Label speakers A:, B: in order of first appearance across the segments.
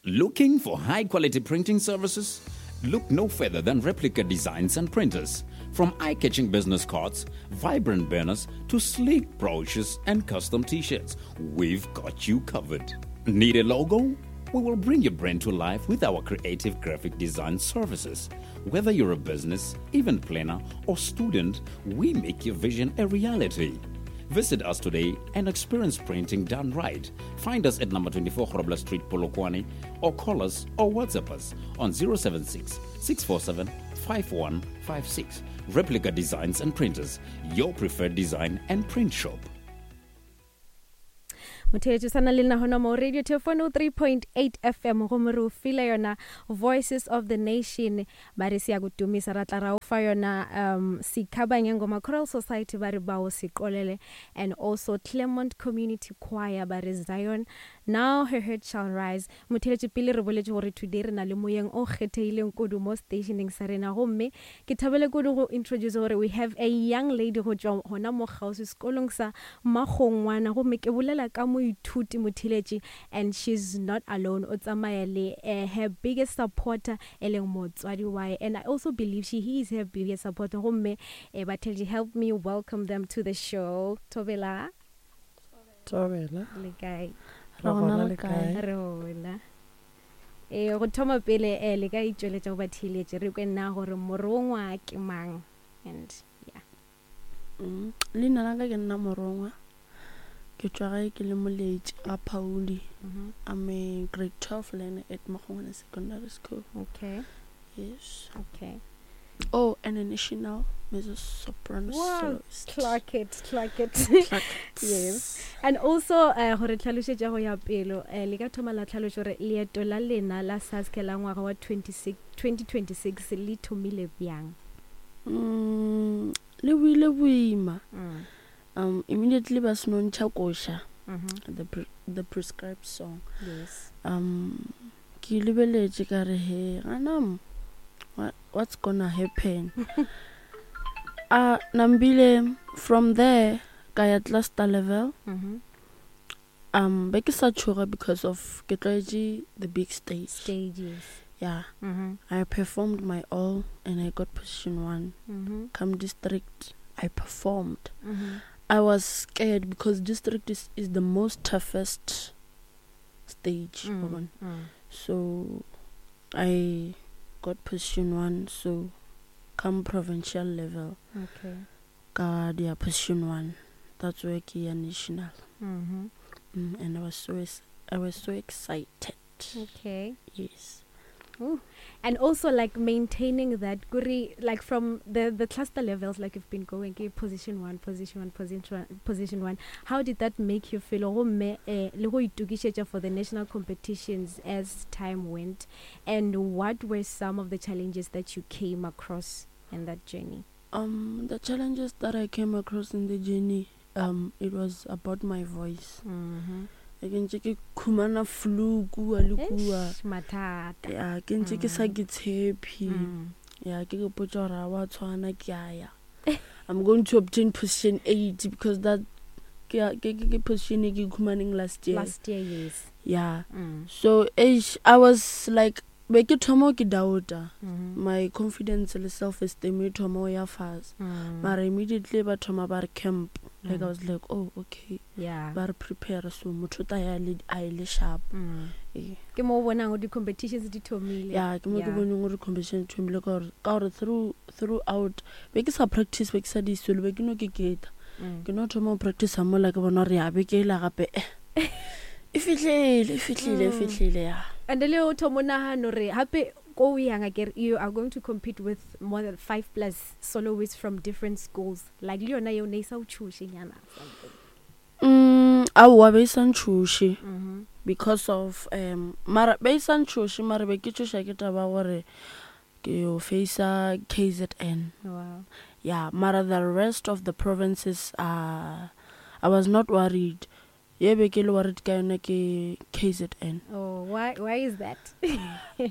A: Looking for high quality printing services? Look no further than Replica Designs and Printers. From eye catching business cards, vibrant banners, to sleek brochures and custom t shirts, we've got you covered. Need a logo? We will bring your brand to life with our creative graphic design services. Whether you're a business, event planner, or student, we make your vision a reality. Visit us today and experience printing done right. Find us at number 24 Grobler Street, Polokwane, or call us or WhatsApp us on 076 647 5156. Replica Designs and Printers, your preferred design and print shop.
B: Motheetši sana le nna gona mo radio telefono 3.8 FM, gomme re o file yona Voices of the Nation, ba re se ya go tumisa, ra tla ra o fa yona Sikhabanye Ngoma Choral Society, ba re bao seqolele, and also Claremont Community Choir, ba re Zion Now Her Head Shall Rise. Motheetši, pele re boletše gore today re na le moyeng o kgethegileng kudu mo stationeng sa rena, gomme ke thabele kudu go introduce gore we have a young lady go tšwa gona mo kgauswi sekolong sa Makgongwana, gomme ke bolela ka moithuti motheletši, and she's not alone, o tsamaya le her biggest supporter e leng motswadi wae, and I also believe she he is her biggest supporter. Gomme batheletši, help me welcome them to the show. Thobela.
C: Thobela.
B: Le kae?
C: Re gona, le kae?
B: Re gona. Ee, go thoma pele le ka itšweletša go batheeletši, re kwe nna gore morongwa ke mang, and yeah.
C: Leina la ka ke nna Morongwa, ke tšwa gae ke le Moletši ga Phauli. I'm a grade 12 learner at Makgongwana Secondary School.
B: Okay.
C: Yes.
B: Okay.
C: Oh, and a national mezzo soprano
B: Wow,
C: soloist.
B: Clock it, clock it.
C: Clock it.
B: Yes. And also gore tlhalošetša go ya pelo, le ka thoma la tlhalošo gore leeto la lena la SASCE la ngwaga wa 26, 2026 le thomile bjang?
C: Le boile boima. Immediately ba seno ntšha koša, the prescribed song.
B: Yes.
C: Ke lebeletše ka re, he, gana mo, what's gonna happen? Nambile from there ka ya cluster level. Be ke sa tšhoga because of ke tlwaetše the big stage.
B: Stages.
C: Yeah. I performed my all and I got position 1. Come district, I performed. I was scared because district is the most toughest stage. Wa bona? So I got position 1. So come provincial level,
B: Okay.
C: ka dia position 1. That's where ke ya national. And I was so excited.
B: Okay.
C: Yes.
B: Ooh. And also maintaining that guri, from the cluster levels, you've been going okay, position 1, position 1, position 1, position 1. How did that make you feel? Gomme, le go itokišetša for the national competitions as time went, and what were some of the challenges that you came across in that journey?
C: The challenges that I came across in the journey, it was about my voice. Ke ntse ke khumana flu kua le kua.
B: Eish, mathata.
C: Ya, ke ntse ke sa ke tshepe. Ya, ke ke potsa gore wa tshwana ke a ya. I'm going to obtain position 8 because that ke ke ke ke position e ke khumaneng last year.
B: Last year, yes.
C: Yeah. So eish, I was like, be ke thoma ke doubta. My confidence le self esteem e thoma ya fase. Mara immediately ba thoma ba re camp. I was like, oh, okay.
B: Yeah.
C: Ba re prepare, so motho ta ya le a ile sharp. Ee.
B: Ke mo o bonang gore di-competitions di thomile.
C: Yeah, ke mo ke
B: Yeah.
C: boneng gore competition di thomile ka gore, ka gore throughout be ke sa practice, be ke sa di solo, be ke no ke keta. Ke no thoma go practice mola ke bona gore ya be ke ela gape. E fihlile, e fihlile, e fihlile, ya.
B: And le o thoma o nagana gore gape ko o yang akere, you are going to compete with more than 5 plus soloists from different schools. Like le yona yeo ne e sa o tšhoše nyana, something.
C: Aowa, be e sa ntšhoše. Because of mara be e sa ntšhoše, mara be ke tšhoša ke taba gore ke yo facea KZN.
B: Wow.
C: Yeah, mara the rest of the provinces, I was not worried. Ye be ke le worried ka yona ke KZN.
B: Oh, why is that?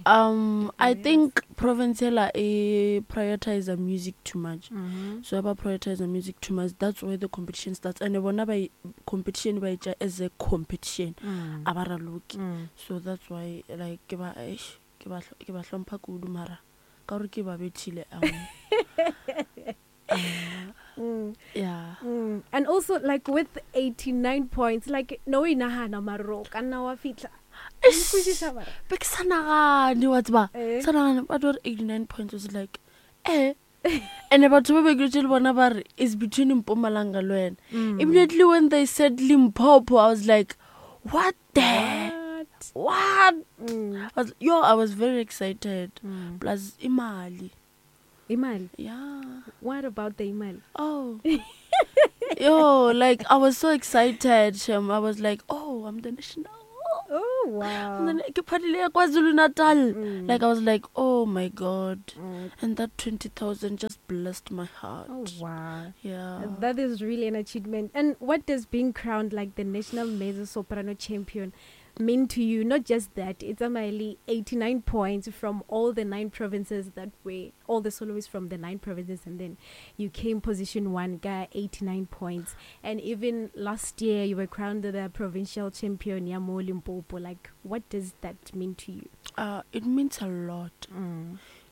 C: I think province ela e prioritize music too much. So ba prioritize music too much, that's where the competition starts. And bona ba competition ba etša as a competition. A ba raloke. So that's why like ke ba eish, ke ba ke ba hlompha kudu mara ka gore ke ba bethile. Yeah.
B: And also like with 89 points, like no inahana maro ka nna wa fihla.
C: Nkwešiša mara. Be ke sa nagane, wa tseba. Sa nagane, ba tlo re 89 points was like, eh. And batho ba be ke le bona ba re is between Mpumalanga le wena. Immediately when they said Limpopo, I was like, what the?
B: What?
C: What? I was very excited. Plus imali.
B: Imali?
C: Yeah.
B: What about the imali?
C: Oh. Yo, like I was so excited, Shem. I was like, oh, I'm the national.
B: Oh, wow.
C: And then ke phadile ya KwaZulu Natal. Like I was like, oh my God. And that 20,000 just blessed my heart.
B: Oh, wow.
C: Yeah.
B: That is really an achievement. And what does being crowned like the national mezzo soprano champion mean to you? Not just that, it's only 89 points from all the 9 provinces that were, all the soloists from the 9 provinces, and then you came position 1, got 89 points. And even last year you were crowned the provincial champion, ya mo Limpopo. Like, what does that mean to you?
C: It means a lot.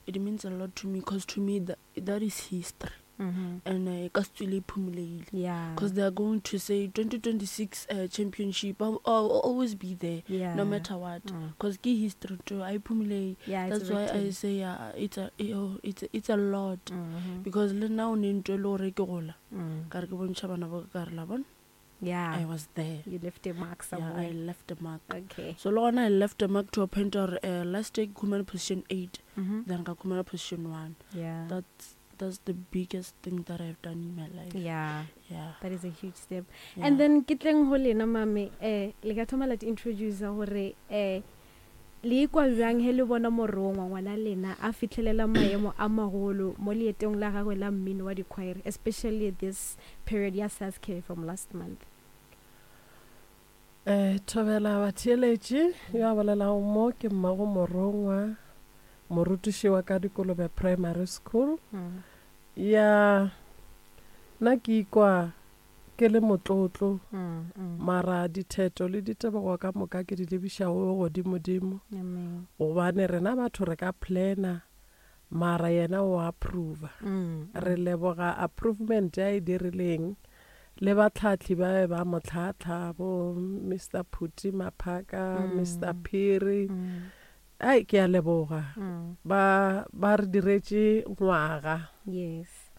C: It means a lot to me, because to me that is history. And ka se tswele e phumulehile.
B: Yeah.
C: Because they are going to say 2026 championship, I'll always be there, no matter what. Because ke history too, a e phumulehile.
B: Yeah, it's
C: That's why I
B: written.
C: say, yeah, it's a lot. Because le nna o ne ntho e le gore ke gola. Ka re ke bontšha bana ba ka, ka re la bona.
B: Yeah.
C: I was there.
B: You left a mark
C: Yeah, I
B: somewhere.
C: left a mark.
B: Okay.
C: So le gona I left a mark to a point where, last year ke khumana position 8, then ka khumana position 1.
B: Yeah.
C: That's the biggest thing that I've done in my life.
B: Yeah.
C: Yeah.
B: That is a huge step.
C: Yeah.
B: And then ke tleng ho lena mame, le ka thoma la introduce hore, le ikwa bjang he le bona morongwa ngwana lena a fitlhelela maemo a magolo mo leetong la gagwe la mmino wa di-choir, especially this period ya SASCA from last month.
D: Thobela batheeletši, yo a bolelago mo ke mmago Morongwa, morutiši wa ka Dikolobe Primary School. Ya, nna ke ikwa ke le motlotlo, mara ditheto le ditebogo ka moka ke di lebiša go godimodimo.
B: Amen.
D: Gobane rena batho re ka plana, mara yena o approve. Re leboga approvement ya e dirileng le batlhahli ba be ba mo tlhahla, bo Mister Phuti Maphaka, Mister Phiri. Ai, ke a leboga. Ba re diretše ngwaga.
B: Yes.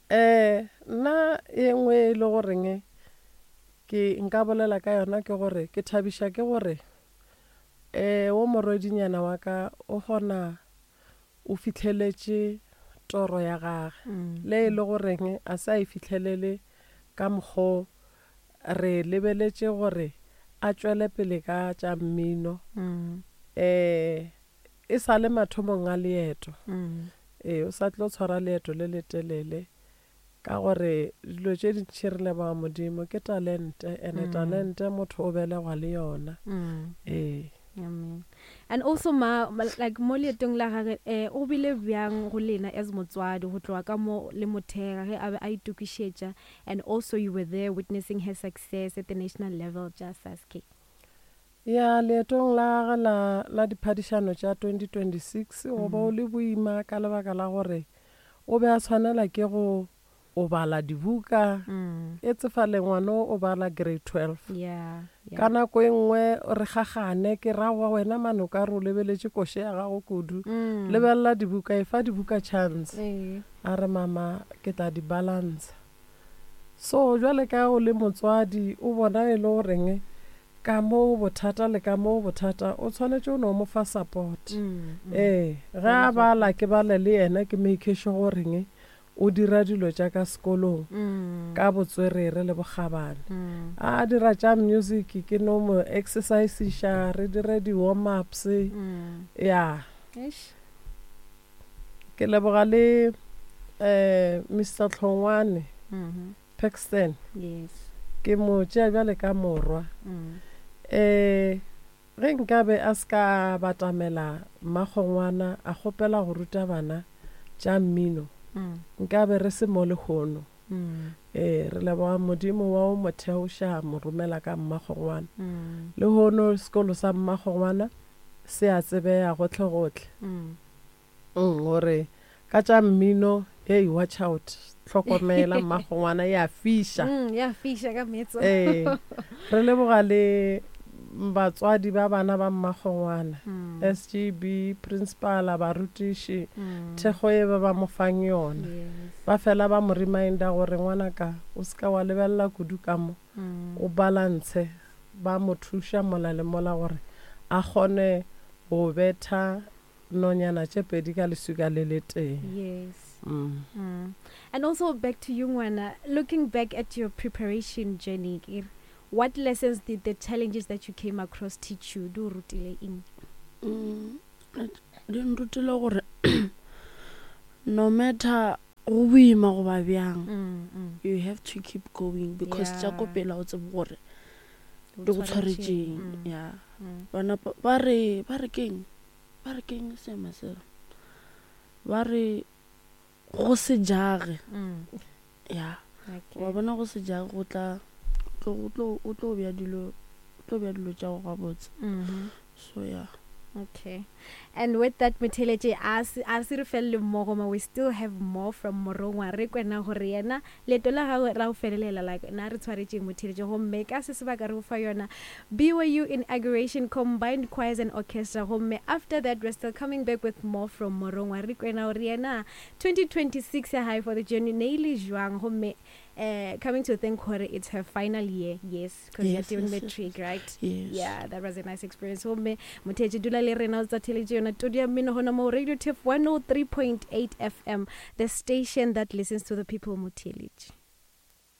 D: Nna e nngwe e le goreng ke nka bolela ka yona ke gore ke thabiša ke gore, wo morwedinyana wa ka o kgona o fitlheletše toro ya gagwe. Le e le goreng a sa e fitlhelele ka mokgo re lebeletše gore a tšwele pele ka tša mmino. E sa le mathomong a leeto. O sa tlo tshwara leeto le letelele ka gore dilo tše dintši re leboga Modimo ke talente, ene talente motho o belegwa le yona.
B: Amen. And also ma, like mo leetong la gagwe, o bile bjang go lena as motswadi go tloga ka mo le mothega ge a be a itokišetša, and also you were there witnessing her success at the national level tša SASCA.
D: Ya, leetong la gagwe la diphadišano tša 2026, go bo le boima ka lebaka la gore o be a tshwanela ke go o bala dibuka. E tsefale ngwana o bala grade 12.
B: Yeah, yeah.
D: Ka nako e nngwe re gagane, ke ra wa wena mane o ka re o lebeletše koše ya gago kudu. Lebelela dibuka, e fa dibuka chance. A re mama ke tla di balance. So jwale ka o le motswadi o bona e le goreng ka mo bothata le ka mo bothata o tshwanetse o no mo fa support. Ge a bala ke bale le yena, ke make sure goreng o dira dilo tša ka sekolong ka botswerere le bokgabane. A dira tša music ke no mo exercise-iša, re dire di-warm ups. Ya.
B: Eish.
D: Ke leboga le Mister Hlongwane. Paxton.
B: Yes.
D: Ke mo tšea bjale ka morwa. Um ge nkabe a se ka batamela mmakgongwana a kgopela go ruta bana tša mmino, nkabe re se mo lehono. Ee, re leboga Modimo wa o mo theoša a mo romela ka mmakgongwana. Lehono sekolo sa mmakgongwana se a tsebega gohlegohle. Gore ka tša mmino, hey, watch out, hlokomela mmakgongwana ya fiša.
B: Ya fiša ka metso.
D: Ee, re leboga le batswadi ba bana ba mmakgongwana, SGB, principala, barutiši, thekgo ye ba ba mo fang yona. Ba fela ba mo reminder gore ngwanaka o se ka wa lebelela kudu ka mo, o balance. Ba mo thuša mola le mola gore a kgone go betha nonyana tše pedi ka leswika le letee.
B: Yes. And also back to you ngwana, looking back at your preparation journey, ke re, what lessons did the challenges that you came across teach you? Di o rutile eng?
C: Di nrutile gore no matter go boima goba bjang, you have to keep going because tša ko pele ga o tsebe gore di go tshwaretšeng. Ya bana ba re ba re keng ba re keng seema seo ba re go se jage. Ya wa bona go se jage go tla o tlo bea dilo o tlo bea dilo tša go gabotse. So yeah.
B: Okay. And with that motheletše a a se re felele mmogo ma we still have more from Morongwa re kwena gore yena leeto la gagwe ra go felelela like na re tshwaretšeng motheletše gomme ka se sebaka re go fa yona BYU inauguration combined choirs and orchestra gomme after that we're still coming back with more from Morongwa re kwena gore yena 2026 ya gae for the journey ne e le jwang gomme uh, coming to think gore it's her final year yes because yes, you're doing yes, matric yes. right
C: yes.
B: Yeah, that was a nice experience gomme motheetše dula le rena o tsa theletše yona todi ya mmino gona mo Radio Tef 103.8 FM, the station that listens to the people. Motheeletše.